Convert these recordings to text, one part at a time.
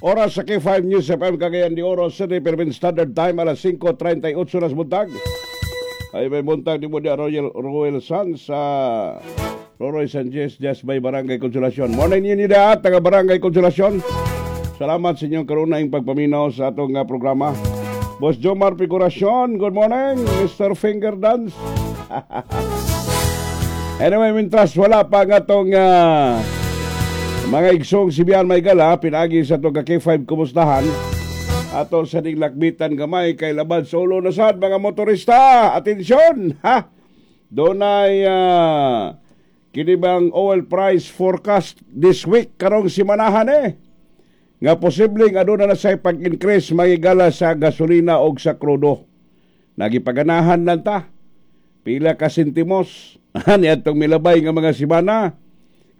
Oras sa K5 News FM Cagayan de Oro City, Philippine Standard Time, alas 5:38 na sa buntag. Ay may buntag di mo di Royal Royal Sun sa Roroy Sanchez just by Barangay Consolacion. Morning ninyo da taga Barangay Consolacion. Salamat sa inyong karunaing pagpaminaw sa atong programa. Boss Jomar Figuracion, good morning, Mr. Finger Dance. Anyway, mintras wala pa nga atong mga igsong Sibian may gala, pinagi sa atong K5 kumustahan. Ato sa lakbitan gamay kay labad sa ulo na sad mga motorista. Atensyon, ha? Dunay kini bang oil price forecast this week, karong simanahan eh. Nga posibleng aduna na say pag-increase, mga higala, sa gasolina og sa krudo. Nagipaganahan lang ta. Pila ka sentimos ani atong milabay nga mga simana.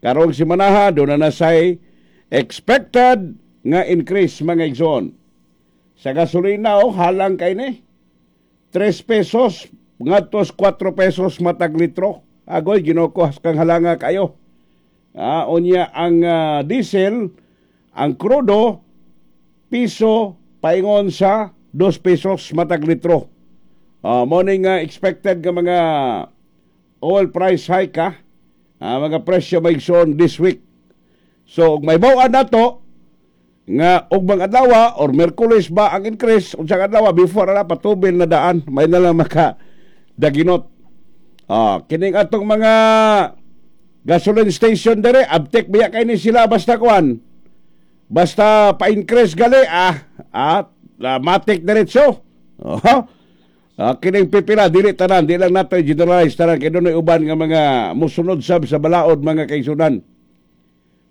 Karong simanaha duna na say expected nga increase, mga igsoon. Sa gasolina, oh, halang kay ni 3 pesos ngadto 4 pesos matag litro. Agoy, Ginoo ko, kang halanga kayo. Unya ang diesel, ang krudo, piso paingon sa 2 pesos matag litro. Morning expected nga mga oil price hike ha. Mga presyo, mga igsoon, this week. So, ug may bawaan nato nga og mga adlaw or Merkules ba ang increase, unsang adlaw before na patubil na daan, may na lang maka daginot. Kining atong mga gasoline station dere, abtek biya kay ni sila basta kuan. Basta pa-increase gali matik diretso. Oh. Kining pipila, dili tanan, di lang nato generalize tanan kay dunay uban nga mga musunod sab sa balaod, mga kaigsunan.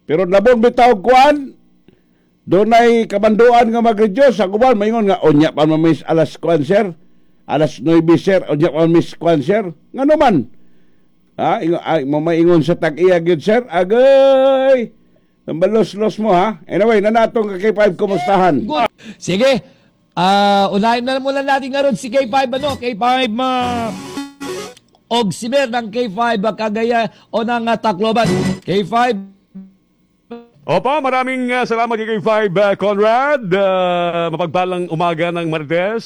Pero labon bitaw kuan, dunay kamanduan nga mag-reduce ang uban maingon nga unya pa man miss alas kuan, sir. Alas 9, sir, unya pa man miss kuan, sir. Ngano man? Ingo, ay, mamaingon sa tag-iya gyud, sir. Agay. Tambalos-los mo ha. Anyway, nanatong ka K5 kumustahan. Good. Sige. Unahin na muna natin ngayon si K5 ano, K5 og siber ng K5 Cagayan o ng Tacloban. K5. Opo, maraming salamat kay K5 Conrad. Mapagpalang umaga ng Martes.